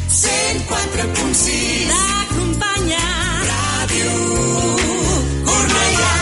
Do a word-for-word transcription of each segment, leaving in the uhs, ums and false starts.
cent quatre punt sis. L'acompanya Ràdio Cornellà.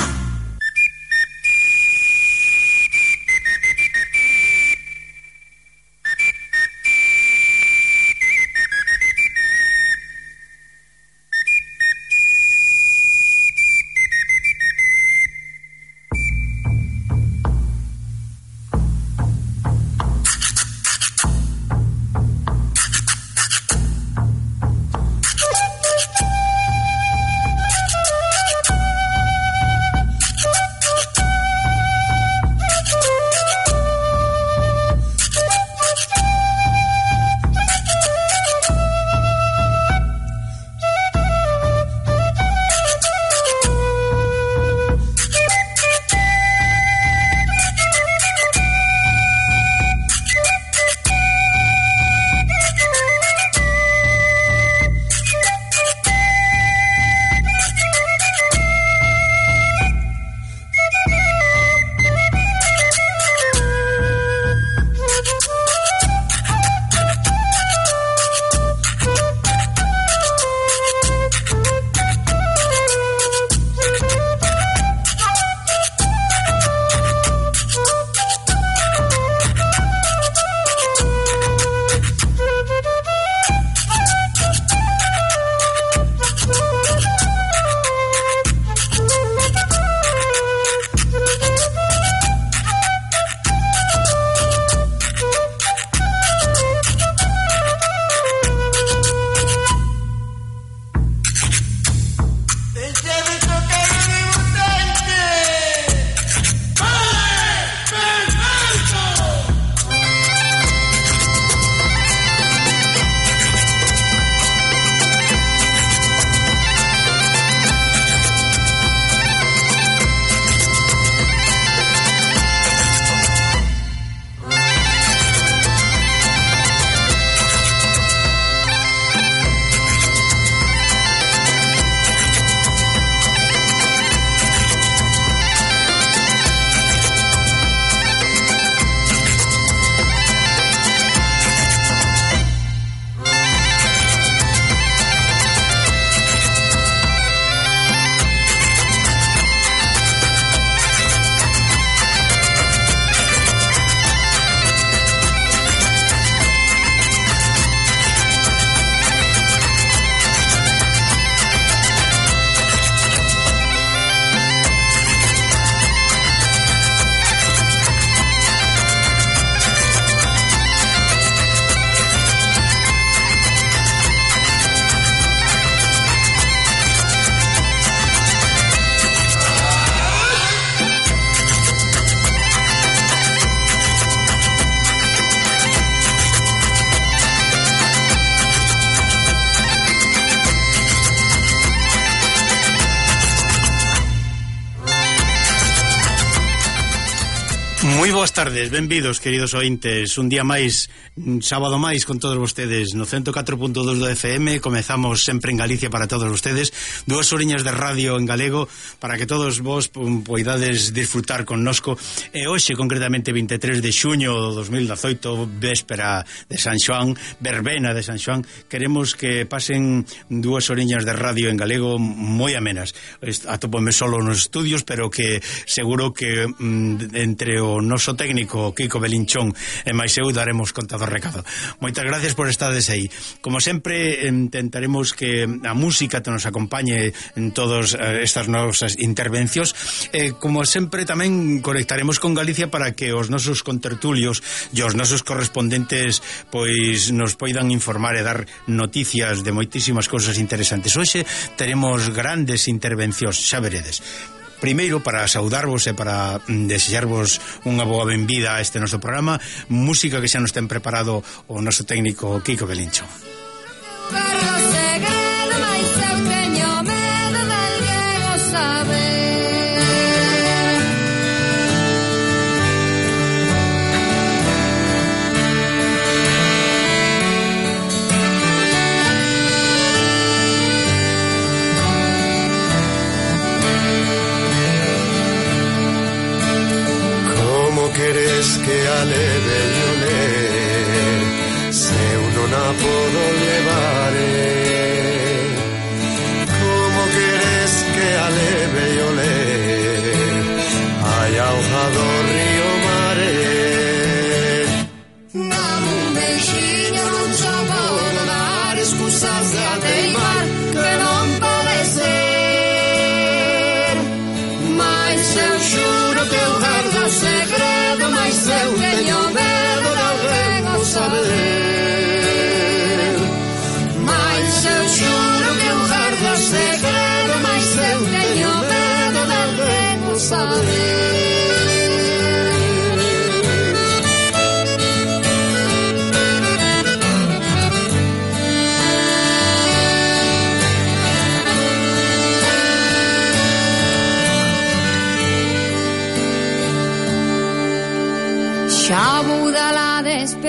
Moi boas tardes, benvidos, queridos ointes. Un día máis, un sábado máis con todos vostedes no ciento catro punto dos do F M. Comezamos sempre en Galicia para todos vostedes. Dúas horiñas de radio en galego para que todos vos poidades disfrutar connosco. E hoxe, concretamente vinte e tres de xuño do dos mil dezoito, véspera de San Xoán, verbena de San Xoán, queremos que pasen dúas horiñas de radio en galego moi amenas. Atópome solo nos estudios, pero que seguro que mm, entre o noso técnico Kiko Belinchón e máis eu daremos conta do recado. Moitas gracias por estades aí. Como sempre, intentaremos que a música te nos acompañe en todas estas nosas intervencións. Eh, como sempre, tamén conectaremos con Galicia para que os nosos contertulios e os nosos correspondentes pois nos poidan informar e dar noticias de moitísimas cousas interesantes. Hoxe teremos grandes intervencións, xa veredes. Primeiro, para saudarvos e para desexarvos unha boa benvida a este noso programa, música que xa nos ten preparado o noso técnico Kiko Belincho. Queres que aleve yo le se uno na podo llevar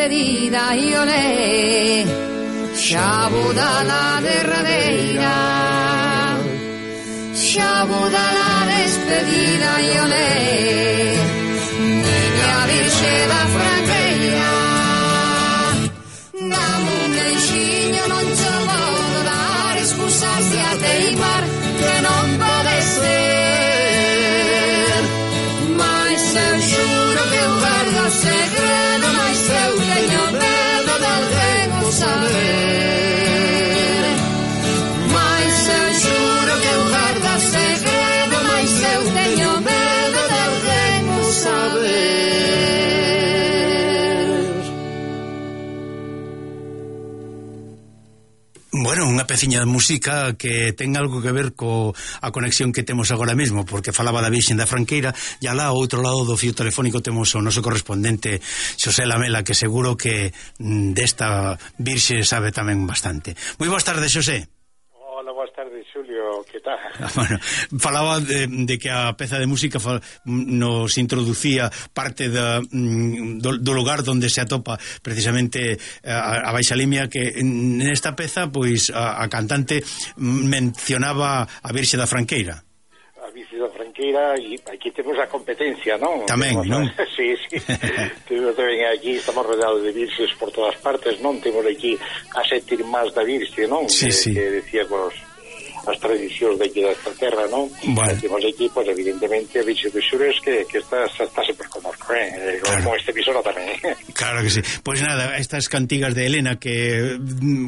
despedida e olé, xa vou da la derradeira, xa vou da la despedida e olé, miña virxe da Franqueira, dame un beixiño, non te vou dar, excusarse a teimar que non pode ser, mas eu xuro que eu guardo o segredo, mas eu teño medo de alguén o saber, mas eu xuro que eu guardo o segredo, mas eu teño medo de alguén o saber. Bueno, unha peciña de música que ten algo que ver co a conexión que temos agora mesmo, porque falaba da Virxen da Franqueira, e alá ao outro lado do fío telefónico temos o noso correspondente Xosé Lamela, que seguro que mm, desta Virxe sabe tamén bastante. Moi boas tardes, Xosé. Hola, boas tardes, Xulio, que tal? Bueno, falaba de, de que a peza de música fa, nos introducía parte da, do, do lugar onde se atopa precisamente a, a Baixa Limia, que nesta peza pois a, a cantante mencionaba a Virxe da Franqueira. A Virxe da Franqueira, e aquí temos a competencia, non? Tamén, temos, non? Sí, sí. Temos tamén aquí, estamos rodeados de virxes por todas partes, non? Temos aquí a sete irmás da Virxe, non? Sí, que, sí. Que decíamos as tradicións de aquí desta terra, non? Bueno. Temos aquí, pois, pues, evidentemente, a Virxe dos Xures, que, que está, está sempre conozco, eh? Claro. Con este emisora tamén, eh? Claro que sí. Pois pues nada, estas cantigas de Elena que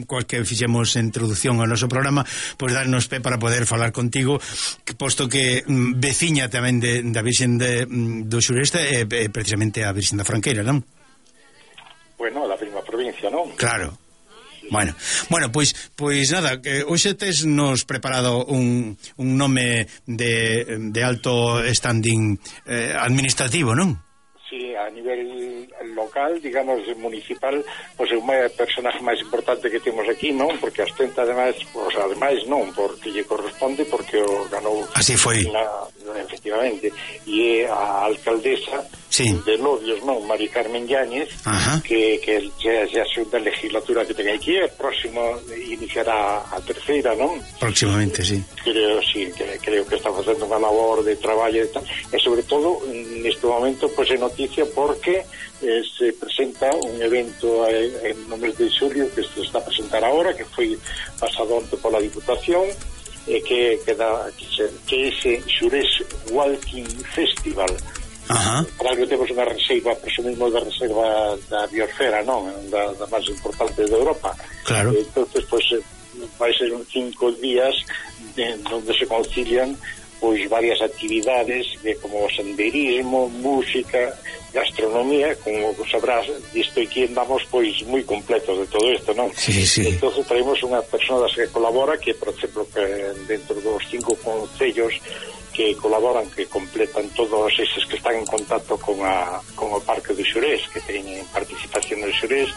coas que fixemos introducción ao noso programa, pois pues darnos pé para poder falar contigo, que, posto que mm, veciña tamén de, da Virxen de, mm, do Xureste é eh, precisamente a Virxen da Franqueira, non? Bueno, a mesma provincia, non? Claro. Bueno, bueno, pois pois nada, que hoxe tes nos preparado un, un nome de, de alto standing eh, administrativo, non? Sí, a nivel local, digamos, municipal, pois é unha personaje máis importante que temos aquí, non? Porque ostenta, ademais, pois, ademais non, porque lle corresponde, porque o ganou... Así foi. Na, efectivamente. E é a alcaldesa, sí, de Lobios, non? Mari Carmen Yáñez, que, que xa, xa a segunda legislatura que ten aquí, e próximo iniciará a terceira, non? Próximamente, sí. Creo, sí, que, creo que está facendo unha labor de traballo e tal, e sobre todo, neste momento, pois é noticia porque eh, se presenta un evento eh, en no mes de xulio que se está a presentar agora, que foi pasado onte pola Diputación, eh, que, que, da, que, se, que ese Xures Walking Festival. Ajá. Para que temos unha reserva, presumimos da reserva da biosfera, non? Da, da máis importante de Europa. Claro. Eh, entonces, pois, pues, vai ser un cinco días de, onde se concilian pois varias actividades de como senderismo, música, gastronomía, como sabrás, isto aquí andamos pois moi completos de todo isto, non? Sí, sí. Entonces traemos unha persona das que colabora, que, por exemplo, que dentro dos cinco concellos que colaboran, que completan todos eses que están en contacto con a con o Parque do Xurés, que teñen participación no Xurés,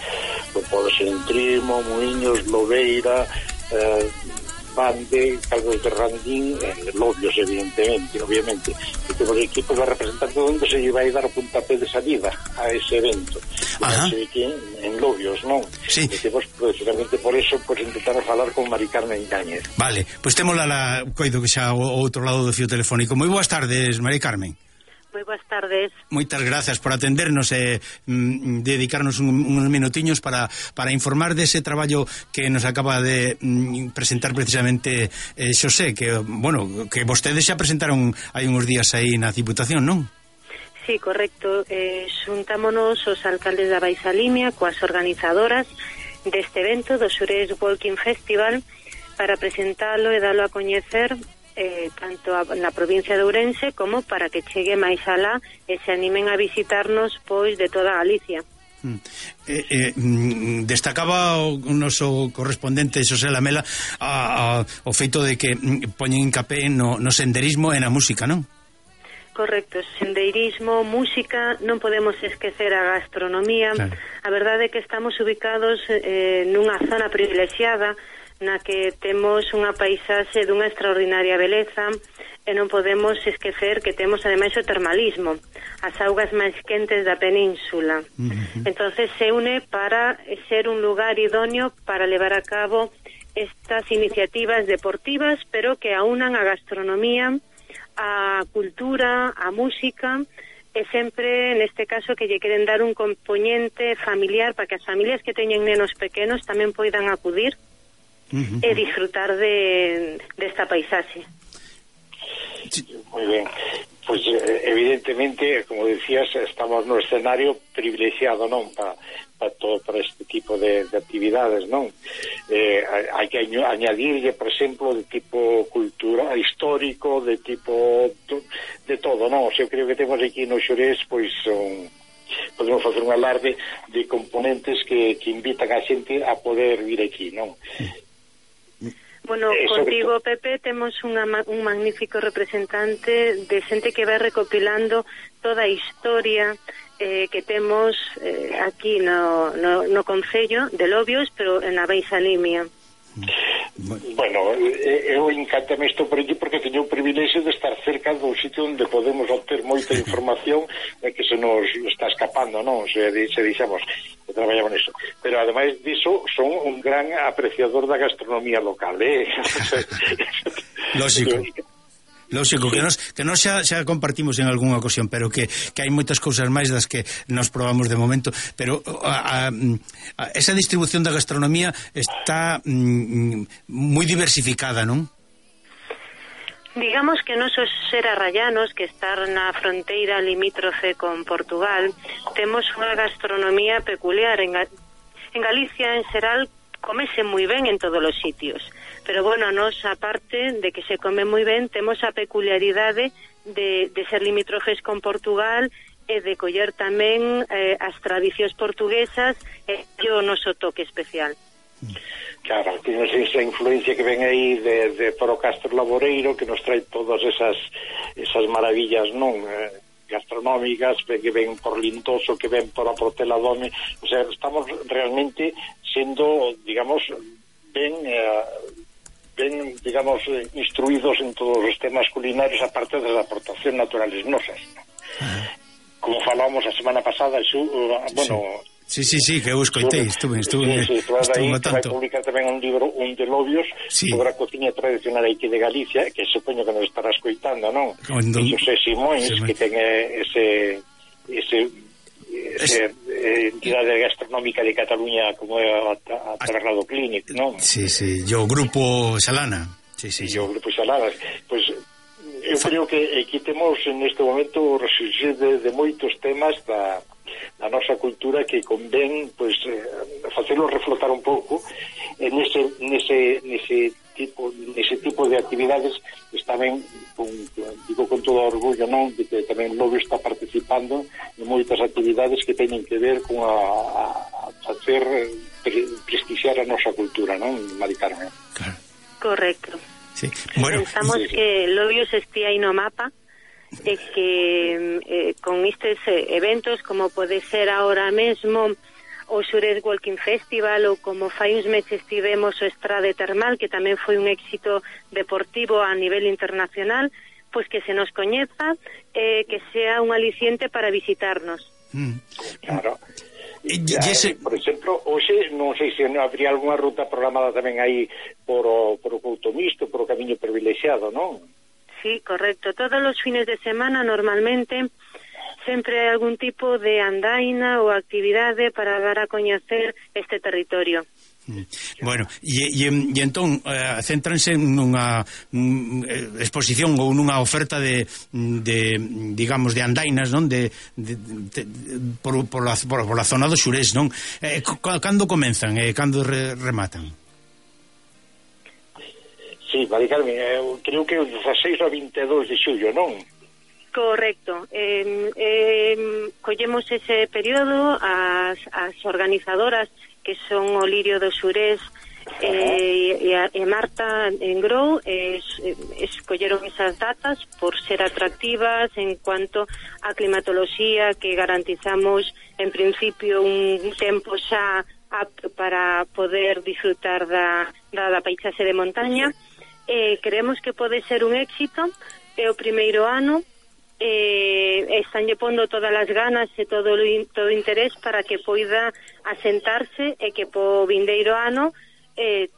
pues, pode ser Entrimo, Muiños, Lobeira, eh, Bande, Calvos de Randín, eh, Lobios, evidentemente, obviamente. E temos equipos de representantes onde se lle vai dar o puntape de salida a ese evento. Ajá. E aquí en Lobios, non? Sí. E temos, precisamente por eso, pues, intentamos falar con Mari Carmen Yáñez. Vale, pois pues temos la, la coido que xa ao outro lado do fío telefónico. Moi boas tardes, Mari Carmen. Moi boas tardes. Moitas grazas por atendernos e mm, dedicarnos un, uns minutiños para, para informar dese traballo que nos acaba de mm, presentar precisamente eh, Xosé, que, bueno, que vostedes xa presentaron hai uns días aí na Diputación, non? Sí, correcto. Eh, xuntámonos os alcaldes da Baixa Limia coas organizadoras deste evento do Xures Walking Festival para presentalo e dalo a coñecer Eh, tanto a, na provincia de Ourense como para que chegue máis alá e se animen a visitarnos pois de toda Galicia. Mm. Eh, eh, mm, destacaba o, o noso correspondente Xosé Lamela a, a, o feito de que mm, poñen hincapé no, no senderismo e na música, non? Correcto, sendeirismo, música, non podemos esquecer a gastronomía. Claro. A verdade é que estamos ubicados eh, nunha zona privilexiada na que temos unha paisaxe dunha extraordinaria beleza, e non podemos esquecer que temos ademais o termalismo, as augas máis quentes da península. Uh-huh. Entonces se une para ser un lugar idóneo para levar a cabo estas iniciativas deportivas, pero que aunan a gastronomía, a cultura, a música, e sempre, neste caso, que lle queren dar un componente familiar para que as familias que teñen nenos pequenos tamén poidan acudir uh-huh. e disfrutar de desta paisaxe. Muy bien, pues evidentemente, como decías, estamos no escenario privilexiado, non, para pa todo para este tipo de, de actividades, non? Eh, hai que añadirlle, por exemplo, de tipo cultura, histórico, de tipo de todo, non? O sea, eu creo que temos aquí no Xurés, pois son podemos facer un alarde de componentes que, que invitan a xente a poder vir aquí, non? Bueno, eh, contigo, Pepe, temos unha, un magnífico representante de xente que vai recopilando toda a historia eh, que temos eh, aquí no, no, no Concello de Lobios, pero na Baixalimia. Bueno, eu encantame isto por aquí porque teño o privilexio de estar cerca do sitio onde podemos obter moita información e que se nos está escapando, non? Se, se dixamos que traballamos nisso. Pero ademais diso, son un gran apreciador da gastronomía local, eh? Lógico. Lógico, que nos, que nos xa, xa compartimos en algunha ocasión, pero que, que hai moitas cousas máis das que nos probamos de momento, pero a, a, a, esa distribución da gastronomía está mm, moi diversificada, non? Digamos que nosos serarrayanos, que estar na fronteira limítrofe con Portugal, temos unha gastronomía peculiar. En, Ga en Galicia, en xeral, comese moi ben en todos os sitios. Pero, bueno, nos, aparte de que se come moi ben, temos a peculiaridade de, de ser limítrofes con Portugal e de coller tamén eh, as tradicións portuguesas e o noso toque especial. Claro, temos esa influencia que ven aí de, de Foro Castro Laboreiro, que nos trae todas esas esas maravillas, non? Eh, gastronómicas, que ven por Lintoso, que ven por a Portela Dome. O sea, estamos realmente sendo, digamos, ben... Eh, ben, digamos, instruídos en todos os temas culinarios, aparte das aportacións naturales nosas. Como falábamos a semana pasada, xu, bueno... Sí, sí, sí, que eu escoitei, estuve, estuve, sí, sí, estuve aí vai publicar tamén un libro, un de Lobios, sí, sobre a cociña tradicional aquí de Galicia, que supoño que nos estará escoitando, non? Don... José Simóns, que ten ese... ese esa eh, entidade gastronómica de Cataluña como é a, a Traslado Clínic, non? Sí, sí, yo grupo Salana. Sí, sí, sí. Yo grupo Salana. Pois pues, eu creo que aquí temos en este momento o resurgir de, de moitos temas da, da nosa cultura que convén, pois, pues, eh, facelo reflotar un pouco en ese, nese, nese tipo nese tipo de actividades. Está ben, con, digo con todo orgullo, non, de que tamén Lobio está participando en moitas actividades que teñen que ver con a, a, a facer pre, prestixiar a nosa cultura, non, Mari Carmen? Claro. Correcto. Sí. Bueno, pensamos sí, sí. que Lobios estea aí no mapa e que eh, con estes eh, eventos, como pode ser ahora mesmo o Xurés Walking Festival, ou como fai uns meses tivemos o Estrade Termal, que tamén foi un éxito deportivo a nivel internacional, pois que se nos coñeza, eh, que sea un aliciente para visitarnos. Mm. Claro. E, e ese... Por exemplo, hoxe non sei se habría algunha ruta programada tamén aí por o, por o Couto Misto, por o Camiño Privilexiado, non? Sí, correcto. Todos os fines de semana, normalmente, sempre hai algún tipo de andaina ou actividade para dar a coñecer este territorio. Bueno, e, e, e entón eh, céntranse nunha um, exposición ou nunha oferta de, de digamos, de andainas, non? De, de, de, por, por, la, por, por la zona do Xurés, non? Eh, cando comenzan e eh, cando re, rematan? Sí, Mari Carmen, eu creo que o dezaseis ao vinte e dous de xullo, non? Correcto. Eh, eh, collemos ese período, as, as organizadoras que son o Lirio do Xurés eh, e, a, e Marta Engrou eh, escolleron esas datas por ser atractivas en cuanto a climatoloxía, que garantizamos en principio un tempo xa apto para poder disfrutar da, da, da paisaxe de montaña. Eh, creemos que pode ser un éxito, é o primeiro ano, eh, estanlle pondo todas as ganas e todo o todo o interés para que poida asentarse e que po vindeiro ano eh,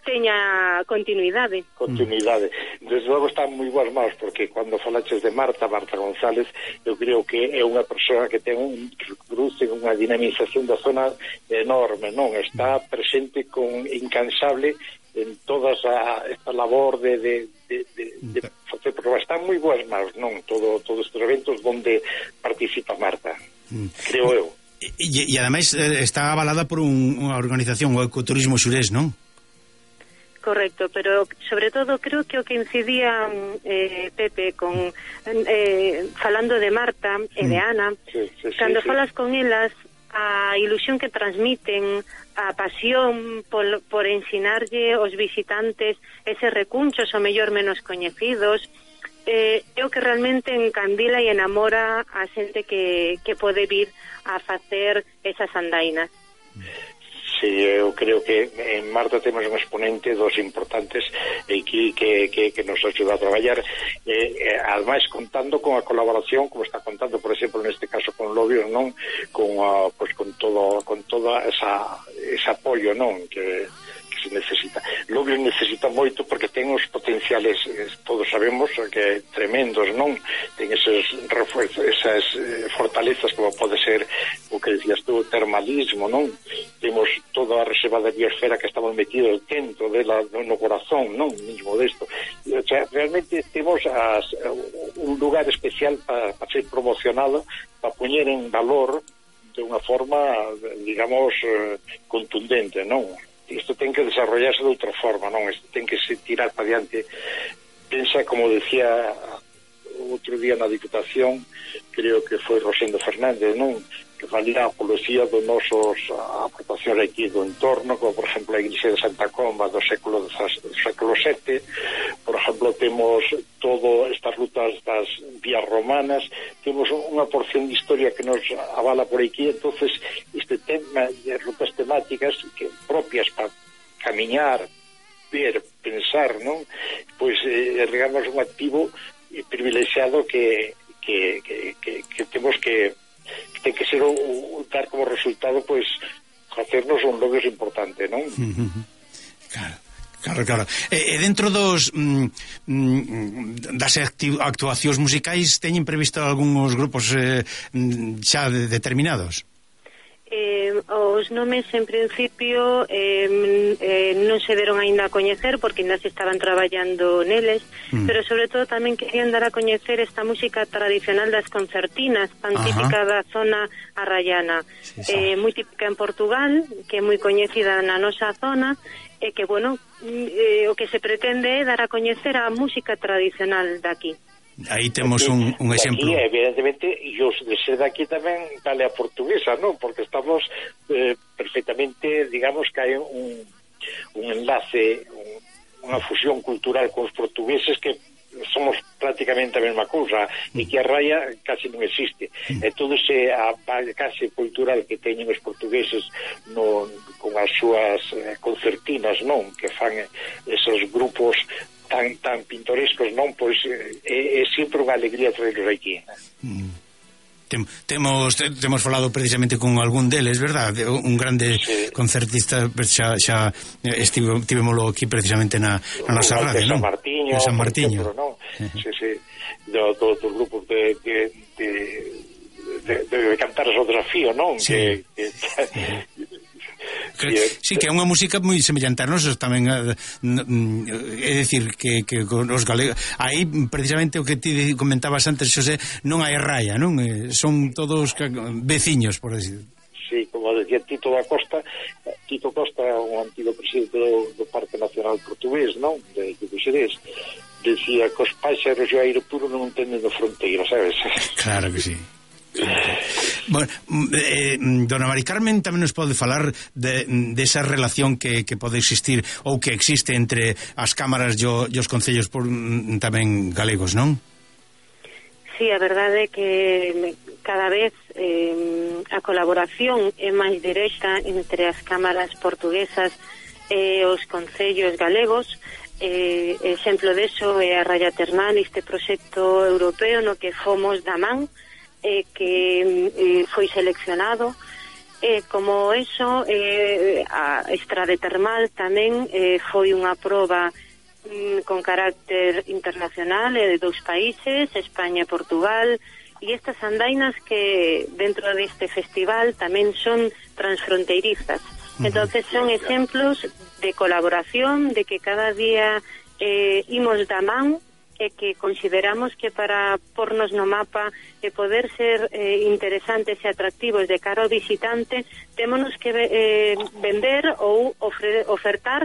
teña continuidade. Continuidade. Desde logo están moi boas mãos, porque cando falaches de Marta, Marta González, eu creo que é unha persoa que ten un cruce, unha dinamización da zona enorme, non? Está presente con incansable en toda esa, esta labor de, de, de, de, de facer, porque están moi boas mãos, non? Todo, todos estes eventos onde participa Marta, creo eu. E, e ademais está avalada por un, unha organización, o Ecoturismo Xurés, non? Correcto, pero sobre todo creo que o que incidía eh, Pepe con eh, falando de Marta e de Ana, sí, sí, sí, cando sí. falas con elas, a ilusión que transmiten, a pasión por, por ensinarlle aos visitantes eses recunchos o mellor menos coñecidos, eh, é o que realmente encandila e enamora a xente que, que pode vir a facer esas andainas. Sí, eu creo que en Marta temos un exponente dos importantes aquí que, que, que nos axuda a traballar, eh, eh, ademais contando con a colaboración, como está contando, por exemplo, neste caso con Lobios, non? Con, uh, pues, con todo con toda esa ese apoio, non? Que se necesita. Lobios necesita moito porque ten os potenciales, todos sabemos que tremendos, non? Ten eses refuerzos, esas eh, fortalezas como pode ser o que decías tú, o termalismo, non? Temos toda a reserva de biosfera que estamos metidos dentro de la, no corazón, non? Mismo desto. O sea, realmente temos as, un lugar especial para pa ser promocionado, para poñer en valor de unha forma, digamos, eh, contundente, non? Isto ten que desarrollarse de outra forma, non? Isto ten que se tirar para diante. Pensa, como decía outro día na Diputación, creo que foi Rosendo Fernández, non? Que valía a apología dos nosos aportacións aquí do entorno, como por exemplo a Iglesia de Santa Comba do século do século sete, por exemplo temos todo estas rutas das vías romanas, temos unha porción de historia que nos avala por aquí, entonces este tema de rutas temáticas que propias para camiñar, ver, pensar, non? Pois eh, digamos un activo privilexiado que que, que, que, que temos que ten que ser o, o, dar como resultado pois hacernos un logros importante, non? Claro, claro, claro. E, e dentro dos mm, das actuacións musicais teñen previsto algúns grupos eh, xa de, determinados? Eh, os nomes en principio eh, eh, non se deron aínda a coñecer porque ainda se estaban traballando neles, mm. pero sobre todo tamén querían dar a coñecer esta música tradicional das concertinas, tan Ajá. típica da zona arraiana, sí, eh, moi típica en Portugal, que é moi coñecida na nosa zona, e que, bueno, eh, o que se pretende é dar a coñecer a música tradicional daqui. Aí temos un, un exemplo. Aquí, evidentemente, e os de ser daqui tamén vale a portuguesa, non? Porque estamos eh, perfectamente, digamos que hai un, un enlace, un, unha fusión cultural con os portugueses que somos prácticamente a mesma cousa e que a raya casi non existe. E todo ese a case cultural que teñen os portugueses no, con as súas eh, concertinas, non? Que fan esos grupos tan tan pintorescos, non? Pois é, é sempre unha alegría traerlos aquí. Mm. Tem, temos te, temos falado precisamente con algún deles, verdad? Un grande sí. concertista, xa, xa estivo, tivemoslo aquí precisamente na, na nosa radio, non? San Martiño, de San Martiño. Ejemplo, non? Sí, sí, do, do, dos grupos de, de, de, de, de, de cantar o desafío, non? Sí. Que, que, Que, sí, que é unha música moi semellante a nosos tamén, é dicir que, que os galegos aí precisamente o que ti comentabas antes, Xosé, non hai raya, non? Son todos veciños, por decir. Sí, como decía Tito da Costa, Tito Costa, un antigo presidente do, do Parque Nacional Portugués, non? De Xerés, decía que os páxaros e o aire puro non entenden de fronteira, sabes? Claro que sí. Bueno, eh, dona Mari Carmen tamén nos pode falar de, de esa relación que, que pode existir ou que existe entre as cámaras e os concellos por, tamén galegos, non? Sí, a verdade é que cada vez eh, a colaboración é máis directa entre as cámaras portuguesas e os concellos galegos. Eh, exemplo deso é a Raya Ternal, este proxecto europeo no que fomos da man, eh, que eh, foi seleccionado. Eh, como eso, eh, a Estrade Termal tamén eh, foi unha proba mm, con carácter internacional eh, de dous países, España e Portugal, e estas andainas que dentro deste festival tamén son transfronteirizas. Entonces son exemplos de colaboración, de que cada día eh, imos da man e que consideramos que para pornos no mapa e poder ser eh, interesantes e atractivos de cara ao visitante, témonos que eh, vender ou ofre, ofertar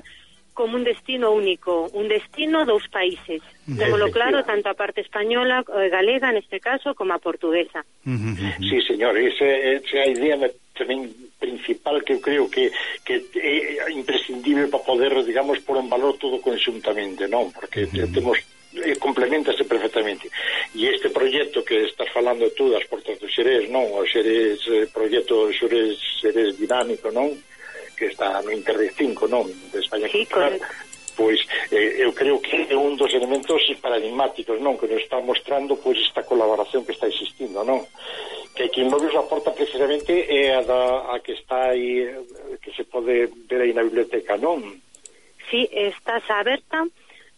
como un destino único, un destino dos países. Témolo claro, tanto a parte española, eh, galega neste caso, como a portuguesa. Sí, señor, esa é a idea tamén principal que eu creo que, que é imprescindible para poder, digamos, pôr en valor todo conxuntamente, non? Porque uh-huh. temos eh, complementase perfectamente. E este proxecto que estás falando tú das Portas do Xerés, non? O Xerés, eh, proxecto Xerés, Xerés dinámico, non? Que está no Interreg cinco, non? De España sí, Cultural. Pois eh, eu creo que é un dos elementos paradigmáticos, non? Que nos está mostrando pois esta colaboración que está existindo, non? Que aquí en Lobios aporta precisamente é a, da, a que está aí, que se pode ver aí na biblioteca, non? Sí, está aberta,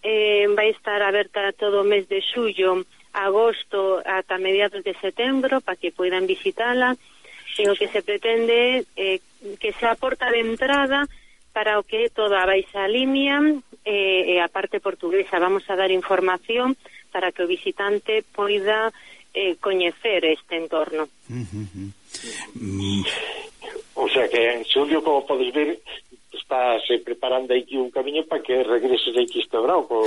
eh, vai estar aberta todo o mes de xullo, agosto, ata mediados de setembro, para que poidan visitala. E o que se pretende é eh, que se aporta de entrada para o que é toda a Baixa Limia e, e a parte portuguesa. Vamos a dar información para que o visitante poida eh, coñecer este entorno. Uh-huh. Mm. O sea que, Xulio, como podes ver, estás eh, preparando aquí un camiño para que regreses aquí este Brauco,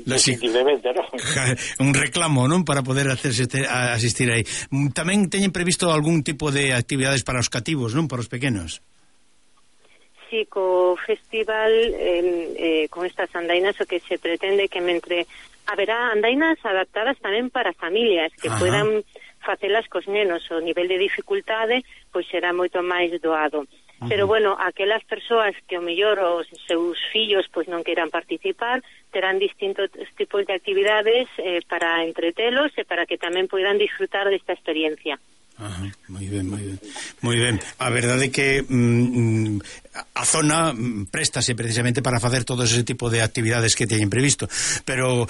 definitivamente, non? Un reclamo, non? Para poder hacerse este, a asistir aí. Tamén teñen previsto algún tipo de actividades para os cativos, non? Para os pequenos. Sí, co festival, eh, eh, con estas andainas, o que se pretende que mentre haberá andainas adaptadas tamén para familias, que Ajá. puedan facelas cos nenos. O nivel de dificultade pois será moito máis doado. Uh-huh. Pero bueno, aquelas persoas que o mellor os seus fillos pois non queiran participar, terán distintos tipos de actividades eh, para entretelos e para que tamén poidan disfrutar desta experiencia. Ajá, moi ben, moi ben. Moi ben. A verdade é que mm, a zona préstase precisamente para facer todo ese tipo de actividades que teñen previsto, pero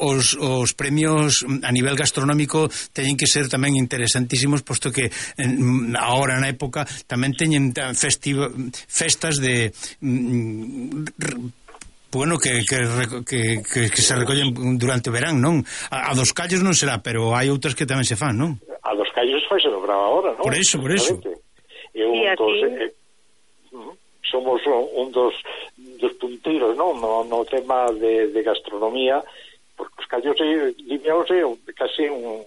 os, os premios a nivel gastronómico teñen que ser tamén interesantísimos, posto que en, agora na época tamén teñen festiva, festas de mm, bueno, que, que, que, que, que se recollen durante o verán, non? A, a dos callos non será, pero hai outras que tamén se fan, non? A dos callos foi se dobraba ahora, non? Por eso, por eso. E un dos, eh, somos un dos, dos punteiros, non? No, no tema de, de gastronomía, porque os callos limeaos é casi un,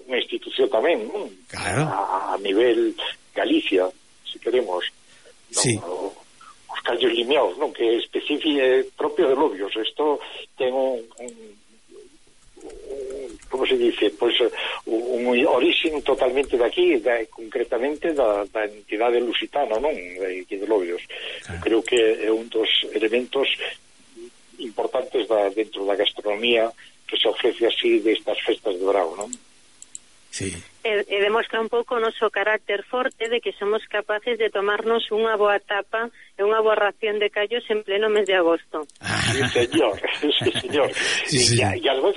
unha institución tamén, non? Claro. A, a nivel Galicia, se queremos. Non? Sí. O, os callos limeaos, non? Que é específico, é propio de Lobios. Isto ten un, un como se dice, pois un, un orixen totalmente de aquí, de, concretamente da, da entidade lusitana, non? De, de Lobios. Claro. Creo que é un dos elementos importantes da, dentro da gastronomía que se ofrece así destas festas de verão, non? Sí. E, e demostra un pouco o noso carácter forte de que somos capaces de tomarnos unha boa tapa e unha boa ración de callos en pleno mes de agosto. Sí, señor, sí, señor. Sí, sí. E, e algo,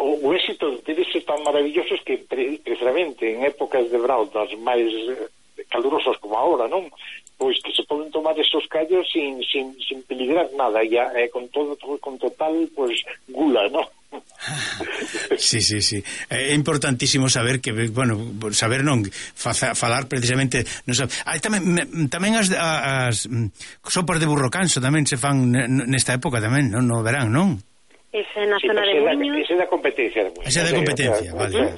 o, o éxito debe ser tan maravilloso que pre, precisamente en épocas de verão das máis calurosas como ahora, non? Pois que se poden tomar esos callos sin, sin, sin peligrar nada, e, e con todo, con total, pois, gula, non? Sí, sí, sí. É importantísimo saber que, bueno, saber non faza, falar precisamente, non sabe. Hai tamén tamén as, as sopas de burro canso tamén se fan nesta época tamén, non, no verán, non? Ese na sí, zona de Muiños. Ese da competencia de Muiños. Ese da competencia, vale.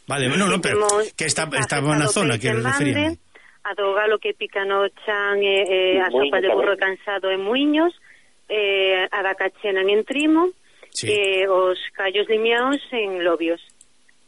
Vale, bueno, no, pero que está está na zona que referíamos. A do galo que pica no chan e, e a sopa de burro cansado en Muiños, eh, a da cachena en Entrimo, sí. E os callos limeaos en Lobios.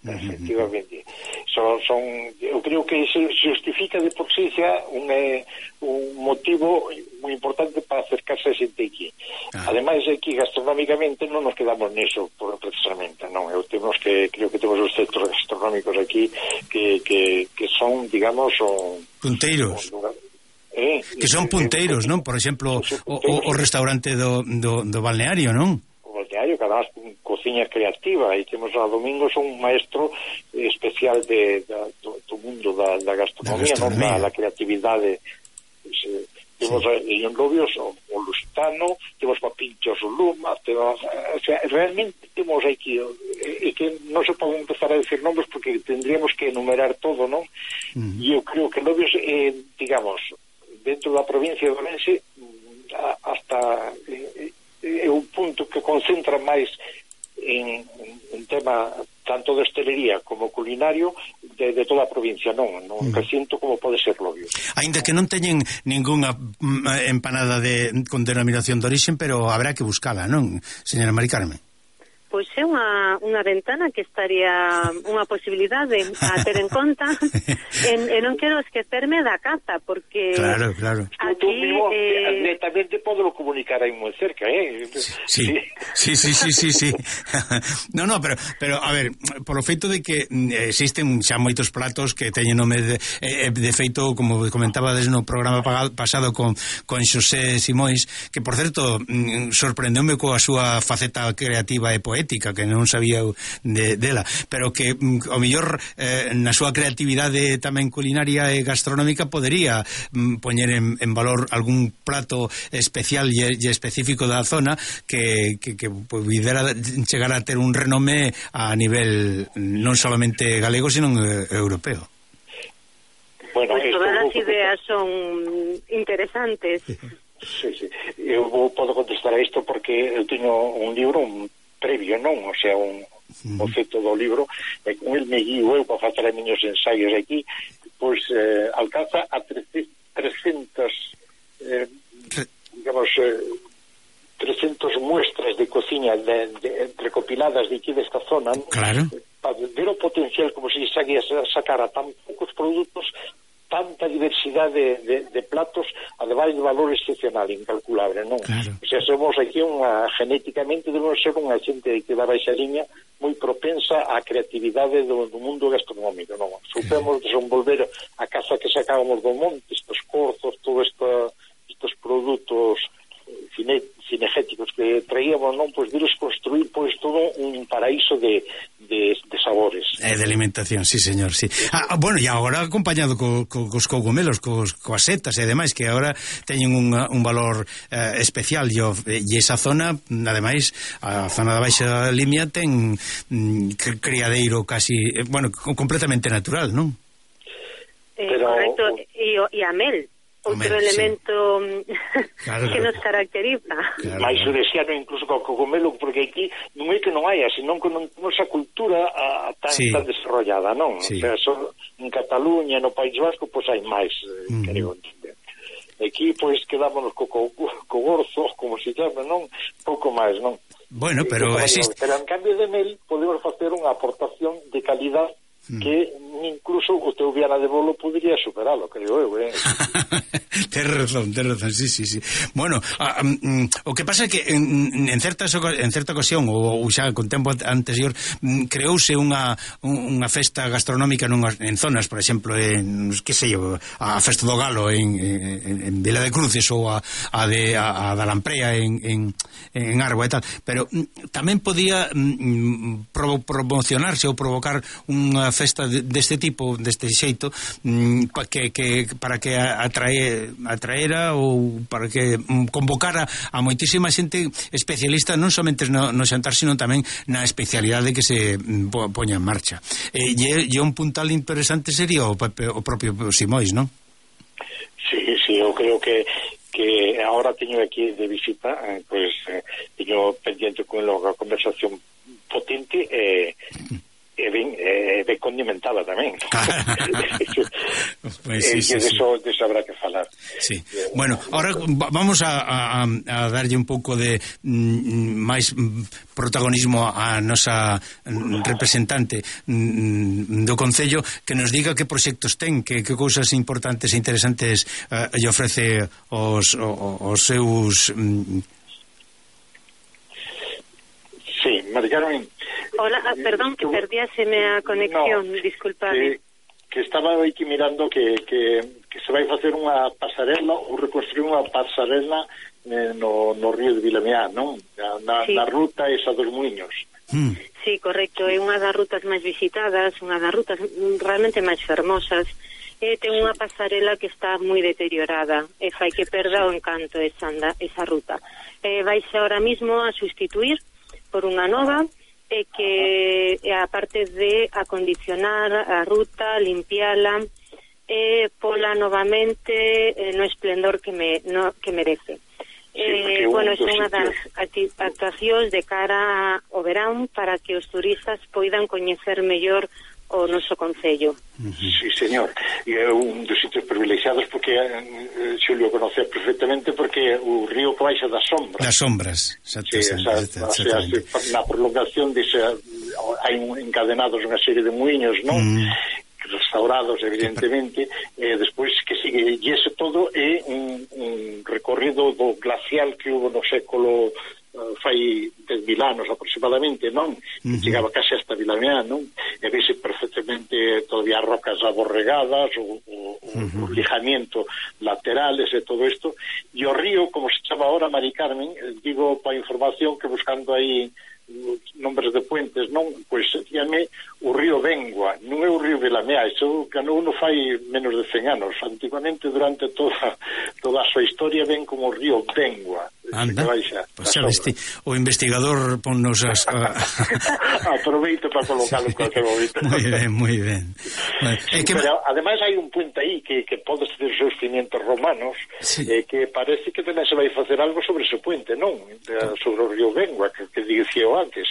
efectivamente. Son, son, eu creo que se justifica de por sí xa un, eh, un motivo moi importante para acercarse a xente aquí. Ah. Ademais, aquí gastronómicamente non nos quedamos niso por, precisamente, non, eu temos que, creo que temos os centros gastronómicos aquí que, que, que son, digamos, o, punteiros. Un lugar, eh, que son punteiros, non? Por exemplo, o, o restaurante do, do, do balneario, non? Que además cociña creativa, e temos a Domingos un maestro especial de, de, do, do mundo da, da gastronomía, non? Da, da creatividade. Se, temos sí. En Lobios o, o Lusitano, temos papinchos o Luma, temos, o sea, realmente temos aquí, e que non se pode empezar a decir nombres porque tendríamos que enumerar todo, non? Uh-huh. E eu creo que Lobios, eh, digamos, dentro da provincia de Ourense, hasta... Eh, é un punto que concentra máis en, en tema tanto de hostelería como culinario de, de toda a provincia, non, non que sinto como pode ser Lobios. Ainda que non teñen ningunha empanada de, con denominación de origen, pero habrá que buscala, non, señora Mari Carmen? Pois é unha, unha ventana que estaría unha posibilidade a ter en conta en, e non quero esquecerme da caza, porque claro, claro. Aquí mismo, eh... netamente podo comunicar aí moi cerca, eh? Sí, sí, sí, sí, sí, sí. No, no, pero, pero a ver, polo feito de que existen xa moitos platos que teñen nome de, eh, de feito, como comentabades no programa pasado con, con Xosé Simóis, que por certo sorprendeume coa súa faceta creativa e poética ética, que non sabía de, dela, pero que mm, o mellor eh, na súa creatividade tamén culinaria e gastronómica podería mm, poñer en, en valor algún plato especial e, e específico da zona que, que, que pudera chegar a ter un renome a nivel non solamente galego, sino europeo. Bueno, pues todas as ideas son interesantes. Sí, sí. Eu podo contestar a isto porque eu teño un libro, un previo, non? O sea, un boceto do libro, e con el me guío eu para facer a miños ensaios aquí, pois eh, alcanza a trescentas eh, digamos eh, trescentas muestras de cociña de, de, recopiladas de aquí desta zona, non? Claro. Para ver o potencial como se sabía sacar a tan poucos produtos, tanta diversidade de, de, de platos, ademais de valor excepcional, incalculable, non? Claro. O sea, somos aquí unha, genéticamente debemos ser unha xente que da baixa liña moi propensa á creatividade do, do mundo gastronómico, non? Supemos desenvolver a casa que sacábamos do monte, estos corzos, todos esta, estos produtos cine, cinegéticos que traíamos, non? Pois deles construir pois todo un paraíso de, de, de sabores. E de alimentación, sí, señor, sí. Ah, bueno, e agora acompañado co, co, cos cogumelos, cos, coas setas e demais, que agora teñen un, un valor eh, especial, e, e esa zona, ademais, a zona da Baixa Limia ten mm, criadeiro casi, eh, bueno, completamente natural, non? Eh, Pero... Correcto, e, e a mel. Outro Hombre, elemento sí. Claro, que nos caracteriza. Claro, máis uresiano incluso co cogumelo, porque aquí non é que non haya, senón que non temos a cultura a, tan, sí. tan desarrollada, non? Sí. O sea, son, en Cataluña, no País Vasco, pois hai máis, mm. creo entender. Aquí, pois, quedámonos co, co, co gorzo, como se chama, non? Pouco máis, non? Bueno, pero existe... Pero en cambio de mel, podemos facer unha aportación de calidad que incluso o teu Viana de Bolo podría superalo, creo eu, eh? Ten razón, ten razón, sí, sí, sí. Bueno, a, um, o que pasa é que en, en, certas, en certa ocasión, ou, ou xa con tempo anterior, creouse unha, unha festa gastronómica nunhas, en zonas, por exemplo, en, que sei eu, a Festa do Galo en, en, en Vila de Cruces ou a, a de a, a da Lamprea en, en, en Arbo e tal, pero tamén podía mm, pro, promocionarse ou provocar unha festa deste tipo, deste xeito, mmm, pa que, que, para que atrae, atraera ou para que mm, convocara a moitísima xente especialista non somente no, no xantar, sino tamén na especialidade que se mm, poña en marcha. E, e un puntal interesante sería o, o propio Simóis, non? Sí, sí, eu creo que que agora teño aquí de visita, eh, pues eh, teño pendiente con a conversación potente e eh, e ben, eh, ben condimentada tamén. Pues sí, e sí, de sí. eso, de eso habrá que falar. Sí. Bueno, ahora vamos a, a, a darlle un pouco de mm, máis protagonismo a nosa representante mm, do Concello, que nos diga que proxectos ten, que, que cousas importantes e interesantes uh, lle ofrece os, os, os seus... Mm... Sí, Mari Carmen. Hola, ah, perdón, que perdíaseme a conexión, no, disculpade. Que, que estaba aquí mirando que, que, que se vai facer unha pasarela ou reconstruir unha pasarela eh, no, no río de Vilameá, non? Na, sí. na ruta esa dos Muiños. Mm. Sí, correcto, é unha das rutas máis visitadas, unha das rutas realmente máis fermosas. E ten unha pasarela que está moi deteriorada e fai que perda o encanto esa, anda, esa ruta. E vaise ahora mismo a sustituir por unha nova e que e aparte de acondicionar a ruta, limpiala e pola novamente eh, no esplendor que me no, que merece. Sí, eh, bueno, é unha das actuacións de cara ao verán para que os turistas poidan coñecer mellor o noso concello. Sí, señor. E é un dos sitios privilexiados porque eh, Xulio conoce perfectamente porque o río que baixa das sombras. Das sombras, exactamente. Sí, esa, o sea, na prolongación dese hai encadenados unha serie de muiños, non? Mm. Restaurados, evidentemente, e eh, despois que sigue, e ese todo é un, un recorrido do glacial que hubo no século uh, fai dez mil anos aproximadamente, non? Uh -huh. Chegaba case hasta Vilameá, non? E vese perfectamente todavía rocas aborregadas, o, o, uh -huh. o lijamiento laterales e todo isto, e o río, como se chama ahora, Mari Carmen, digo para información que buscando aí nombres de puentes, non? Pois díame o río Bengua, non é o río Vilameá, iso cando uno fai menos de cen anos. Antiguamente, durante toda toda a súa historia, ven como o río Bengua. Anda, pois xa veste, o investigador ponnos as... Aproveito para colocarlo en cualquier momento. Moi ben, moi ben. Bueno, sí, que... Pero ademais hai un puente aí que, que pode ser os seus cimientos romanos, sí. eh, que parece que tamén se vai facer algo sobre ese puente, non? Sobre o río Bengua, que, que dicía antes,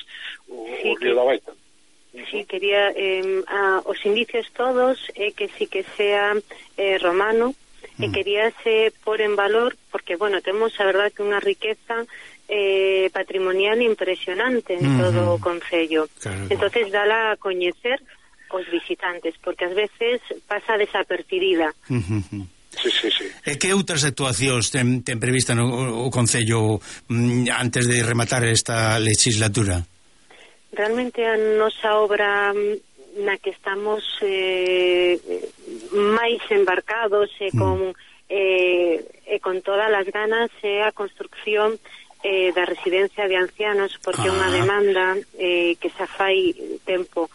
o, sí, o río que... da Baita. Sí, quería eh, a, os indicios todos é eh, que sí que sea eh, romano, e queríase por en valor, porque, bueno, temos a verdad que unha riqueza eh, patrimonial impresionante en uh -huh. todo o concello. Claro. Entonces, dala a coñecer os visitantes, porque ás veces pasa desapercibida. Uh -huh. Sí, sí, sí. E que outras actuacións ten, ten prevista no o concello mm, antes de rematar esta legislatura? Realmente a nosa obra na que estamos eh, máis embarcados e con, mm. eh, e con todas as ganas é a construcción eh, da residencia de ancianos, porque é ah. unha demanda eh, que xa fai tempo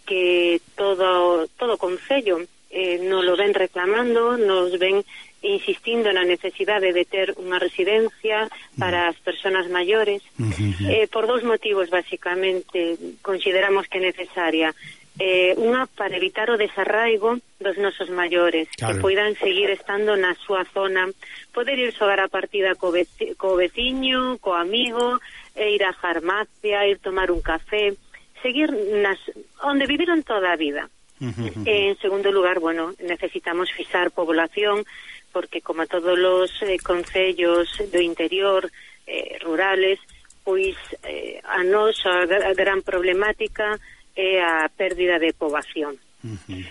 que todo todo concello eh, nos lo ven reclamando, nos ven insistindo na necesidade de ter unha residencia para as persoas maiores. Mm-hmm. eh, por dous motivos, basicamente, consideramos que é necesaria. Eh, unha, para evitar o desarraigo dos nosos maiores, claro, que poidan seguir estando na súa zona, poder ir xogar a partida co, veci, co veciño, co amigo, e ir á farmacia, ir tomar un café, seguir nas onde viviron toda a vida. Uh-huh. eh, en segundo lugar, bueno, necesitamos fixar población, porque como todos os eh, concellos do interior eh, rurales, pois eh, a nosa a gran problemática é a pérdida de poboación. Uh-huh.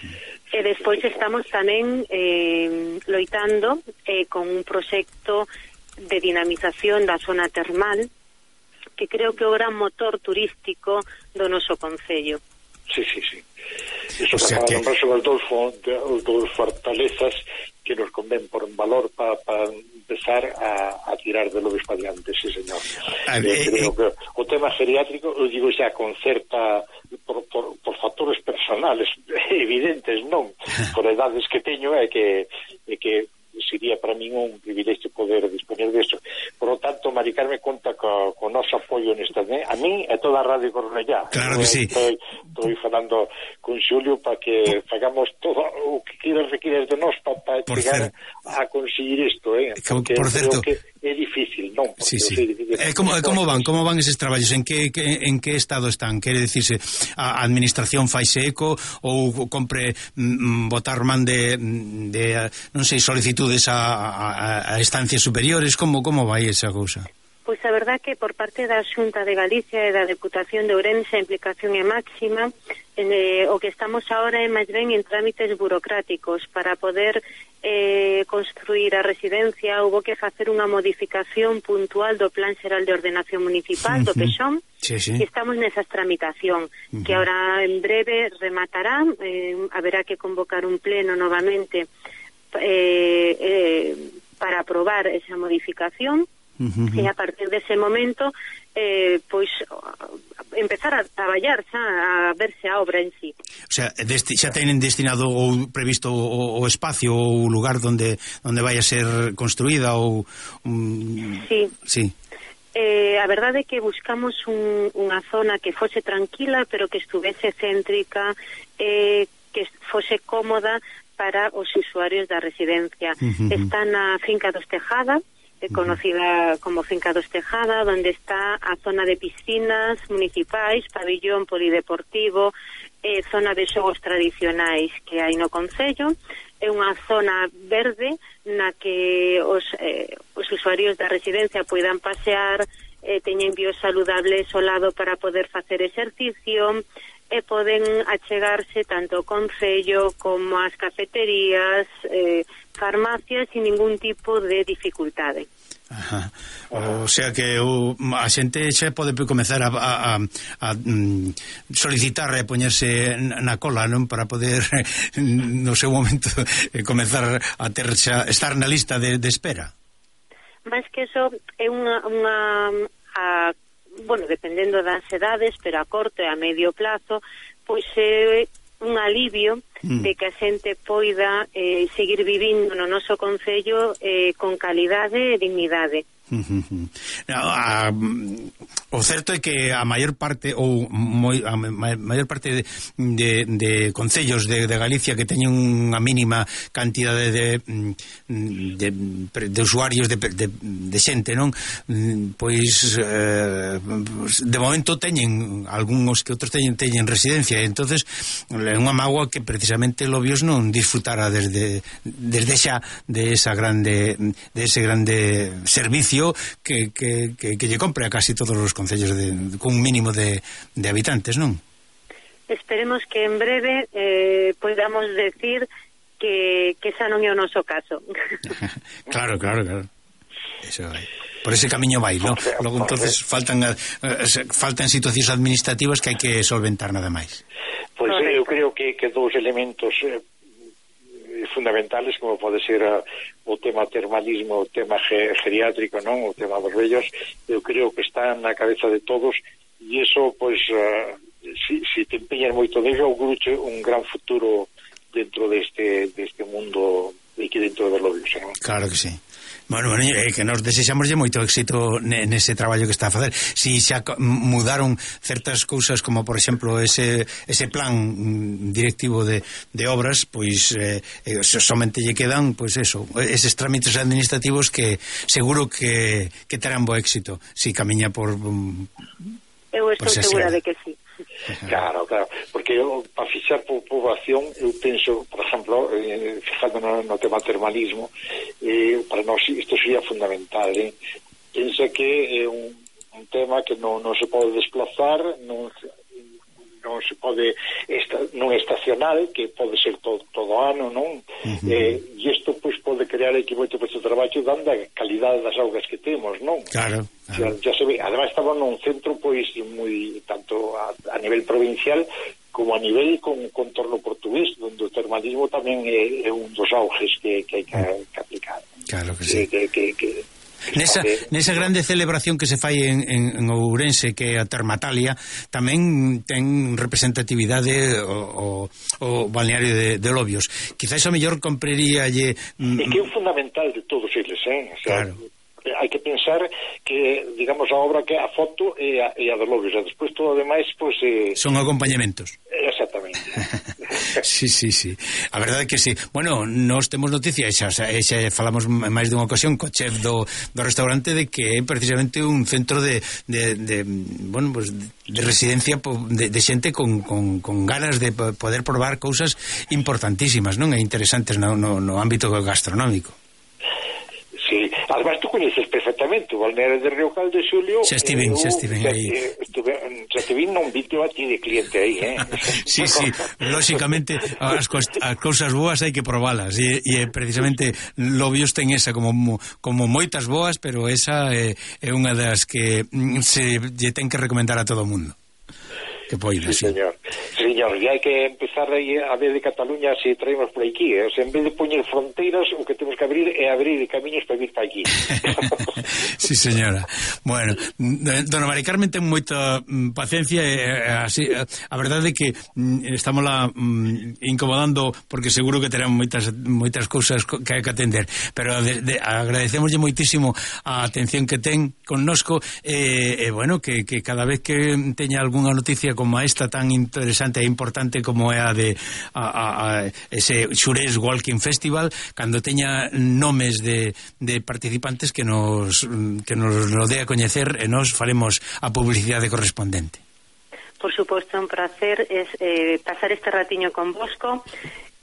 E despois estamos tamén eh, loitando eh, con un proxecto de dinamización da zona termal, que creo que é o gran motor turístico do noso concello. Sí, sí, sí. Iso o sea que... son os dous, os dous fortalezas que nos conven por un valor para pa empezar a, a tirar de lo adiante, sí, señor. A ver, eh, creo eh, que o tema geriátrico, eu digo xa con certa por, por, por factores personales evidentes, non? Por edades que teño é que, é que sería para min un privilegio poder disponer disso. Por lo tanto, Mari Carmen conta co, co noso apoio nesta, né? A mí e toda a Radio Cornellá. Claro que sí. estou falando con Xulio para que fagamos todo o que quieras requires de nós para pa chegar a conseguir isto, eh? Porque por certo, que é difícil, non? Sí, sí. Eh, como, como van, como van eses traballos? En que, que, en que estado están? Quere dicirse, a administración faise eco ou compre mm, botar man de, de non sei, solicitudes a, a, a estancias superiores? Como, como vai esa cousa? Pois a verdad que por parte da Xunta de Galicia e da Deputación de Ourense a implicación é máxima. Eh, o que estamos agora é máis ben en trámites burocráticos para poder eh, construir a residencia. Houbo que facer unha modificación puntual do Plan Xeral de Ordenación Municipal, uh-huh. do Pexón, sí, sí. e estamos nesa tramitación, uh-huh. que ahora en breve rematará. Eh, haberá que convocar un pleno novamente eh, eh, para aprobar esa modificación. Uh-huh. E a partir dese momento eh, pois empezar a traballar xa, a verse a obra en sí. O sea, desti, xa tenen destinado ou previsto o, o espacio ou o lugar donde onde vai a ser construída ou um... Sí. Sí. Eh, a verdade é que buscamos un, unha zona que fose tranquila, pero que estuvese céntrica, eh, que fose cómoda para os usuarios da residencia. Uh-huh. Está na Finca dos Tejada, conocida como Finca dos Tejada, donde está a zona de piscinas municipais, pabillón polideportivo, eh, zona de xogos tradicionais que hai no concello. É unha zona verde na que os, eh, os usuarios da residencia poidan pasear, eh, teñen biosaludables ao lado para poder facer exercicio, e poden achegarse tanto ao concello como ás cafeterías, eh, farmacias, sin ningún tipo de dificultade. Ajá. O sea que o, a xente xa pode comezar a, a, a, a solicitar e poñerse na cola, non, para poder no seu momento comezar a ter xa, estar na lista de, de espera. Mas que eso é unha, unha a, bueno, dependendo das edades, pero a corto e a medio plazo, pois é un alivio mm. de que a xente poida eh, seguir vivindo no noso concello eh, con calidade e dignidade. A, a, o certo é que a maior parte ou moi, a maior parte de, de, de concellos de, de Galicia que teñen unha mínima cantidade de, de, de usuarios de, de, de xente, non? Pois eh, de momento teñen algúns que outros teñen, teñen residencia, e entonces é unha mágoa que precisamente Lobios non disfrutara desde, desde xa de esa grande de ese grande servicio que, que, que, que lle compre a casi todos os concellos de, con un mínimo de, de habitantes, non? Esperemos que en breve eh, podamos decir que, que esa non é o noso caso. Claro, claro, claro. Eso vai. Por ese camiño vai, non? Logo entonces faltan uh, faltan situacións administrativas que hai que solventar nada máis. Pois pues, eu creo que, que dous elementos eh, fundamentales, como pode ser a, o tema termalismo, o tema ge, geriátrico, non, o tema dos vellos, eu creo que está na cabeza de todos, e iso, pois, uh, si, si te empeñas moito de ello, auguruche un gran futuro dentro deste, deste mundo aquí dentro de Lobios, non? Claro que sí. Bueno, bueno, eh, que nos desexamoslle moito éxito nese traballo que está a facer. Si xa mudaron certas cousas, como por exemplo ese ese plan directivo de, de obras, pois eh, somente lle quedan, pois eso, eses trámites administrativos que seguro que, que terán bo éxito si camiña por... Eu estou segura de que sí. Claro, claro, porque eu, para fixar por poboación, eu penso, por exemplo, eh, fijando no, no tema termalismo, eh, para nós isto sería fundamental, eh? Penso que é un, un tema que non, non se pode desplazar, non, non se pode esta, non estacional, que pode ser todo, todo ano, non? Uh-huh. Eh, e isto pois pode crear aquí moito puesto de traballo dando a calidade das augas que temos, non? Claro. Ya, ya se ve, además estaba nun centro pois moi tanto a, a nivel provincial como a nivel con contorno portugués, onde o termalismo tamén é, é un dos auges que, que hai que, que aplicar. Claro que sí. Que, que, que, Nesa, nesa grande celebración que se fai en, en, en Ourense, que é a Termatalia, tamén ten representatividade o, o, o balneario de, de Lobios. Quizás a mellor compraríalle... Mm, é que é un fundamental de todos eles, eh? O sea, claro. hai que pensar que, digamos, a obra que a foto e a, e a dos lobios, e despois todo o demais, pois... Eh, son acompañamentos. Exactamente. Sí, sí, sí. A verdade é que sí. Bueno, nós temos noticia, xa, xa, xa falamos máis dunha ocasión co chef do, do restaurante de que é precisamente un centro de, de, de bueno, pues de residencia de, de xente con, con, con ganas de poder probar cousas importantísimas, non? E interesantes no, no, no ámbito gastronómico. Sí, además tú coñeces perfectamente o balneario de Río Caldo, Xulio. Xa estiven, xa estiven aí. Xa estiven non vito a ti de cliente aí, eh? Sí, sí, lóxicamente as, as cousas boas hai que probalas e, e precisamente Lobios ten esa como, como moitas boas, pero esa é, é unha das que se lle ten que recomendar a todo o mundo. Que poida, sí, sí. Señor. Señor, e hai que empezar aí a ver de Cataluña se traemos por aquí, eh? O sea, en vez de poñer fronteiras, o que temos que abrir é abrir camiños para vir para aquí. Sí, señora. Bueno, dona Mari Carmen ten moita mm, paciencia e eh, así, a, a verdade é que mm, estamos lá mm, incomodando porque seguro que terán moitas moitas cousas que hai que atender, pero de, de, agradecemoslle moitísimo a atención que ten connosco e eh, eh, bueno, que, que cada vez que teña algunha noticia como esta tan interesante e importante como é a de a, a, a ese Xurés Walking Festival, cando teña nomes de, de participantes que nos que nos lo dé a coñecer e nos faremos a publicidade correspondente. Por suposto, un placer es eh, pasar este ratiño con Bosco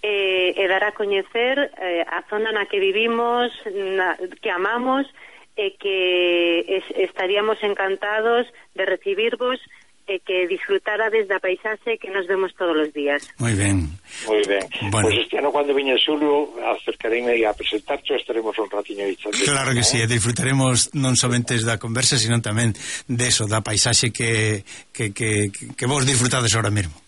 eh, e dar a coñecer eh, a zona na que vivimos, na, que amamos e que es, estaríamos encantados de recibirvos e que disfrutarades da paisaxe que nos vemos todos os días. Moi ben. Moi ben. Bueno. Pois pues este ano, cando viña Xulio, acercareme a presentarcho, estaremos un ratiño aí. Claro que sí, e disfrutaremos non somente da conversa, sino tamén de eso, da paisaxe que, que, que, que vos disfrutades ahora mesmo.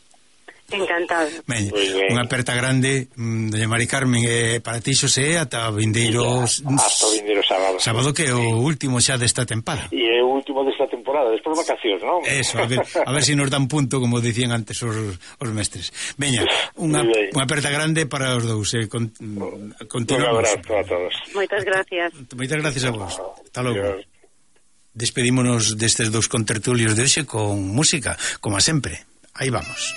Encantado. Ben, unha aperta grande, mm, doña Mari Carmen, eh, para ti Xosé, ata o vindeiro hasta o vindeiro sábado. Sábado que é o último xa desta tempada. E é o último desta temporada, despois vacacións, non? Eso, a ver, a ver se si nos dan punto, como dicían antes os, os mestres. Veña, unha, unha aperta grande para os dous, eh, con, continuamos. Un abrazo a todos. Moitas gracias. Moitas gracias a vos. Hasta logo. Despedímonos destes dous contertulios de hoxe con música, como a sempre. Aí vamos.